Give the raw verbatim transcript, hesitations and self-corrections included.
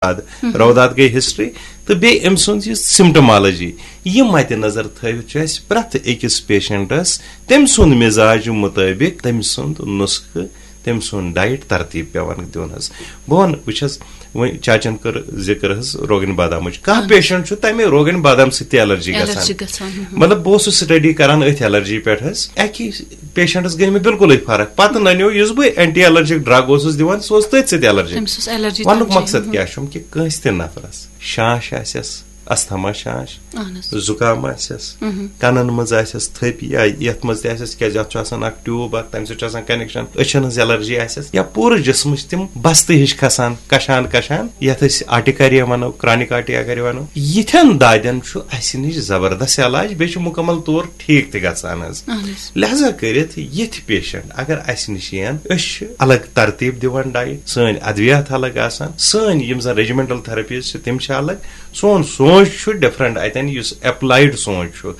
روداد، روداد گٔے ہسٹری، تہٕ بیٚیہِ أمۍ سُنٛد یہِ سمٹمالجی، یہِ مدِ نظر تھٲوِتھ چھُ اَسہِ پرٛٮ۪تھ أکِس پیشنٹس تٔمۍ سُنٛد مزاج مُطٲبِق تٔمۍ سُنٛد نُسخہٕ، تٔمۍ سُنٛد ڈایٹ ترتیٖب پٮ۪وان دیُن حظ۔ بہٕ وَنہٕ، وٕچھ حظ، وۄنۍ چاچن کٔر ذِکر حظ روگن بادامٕچ۔ کانٛہہ پیشنٹ چھُ تَمہِ روگن بادام سۭتۍ تہِ الرجی گژھان۔ الرجی گژھان، ہُم۔ مطلب، بہٕ اوسُس سٹڈی کران أتھۍ الرجی پٮ۪ٹھ حظ۔ اَکی پیشنٹس گٔے مےٚ بالکلٕے فرق۔ پتہٕ ننیو، یُس بہٕ اینٹی الرجک ڈرگ اوسُس دِوان، سُہ اوس تٔتھۍ سۭتۍ الرجی۔ تٔمِس اوس الرجی وَنُک تَمہِ مقصد چیٖزٕ۔ کیٛاہ چھُم کہِ کٲنٛسہِ تہِ نفرس شانٛش آسٮ۪س، استھما شانٛش، اہن حظ۔ زُکام آسٮ۪س، مہم۔ کنن منٛز آسٮ۪س تھٔپۍ یا یتھ منٛز تہِ آسٮ۪س، تِکیازِ اتھ چھُ آسان اکھ ٹیوب اکھ، تمہِ سۭتۍ چھُ آسان کنیکشن، أچھن ہٕنٛز الرجی آسٮ۪س یا پوٗرٕ جسمٕچ تِم بستہٕ ہِش کھسان، کشان کشان، یتھ أسۍ آرٹیکاریا ونو، کرانک آرٹیکاریا ونو۔ یِتھٮ۪ن دادٮ۪ن چھُ اسہِ نِش زبردست علاج، بیٚیہِ چھُ مکمل طور ٹھیٖک تہِ گژھان حظ۔ اہن حظ۔ لہذا کٔرِتھ یِتھۍ پیشنٹ اگر اسہِ نِش یِن، أسۍ چھِ الگ ترتیٖب دِوان ڈایٹ، سٲنۍ ادویات الگ آسان، سٲنۍ یِم زن ریجیمنٹل تھراپیز چھِ تِم چھِ الگ، سون سونچ چھُ ڈفرنٹ اتٮ۪ن، یُس اپلایڈ سونچ چھُ۔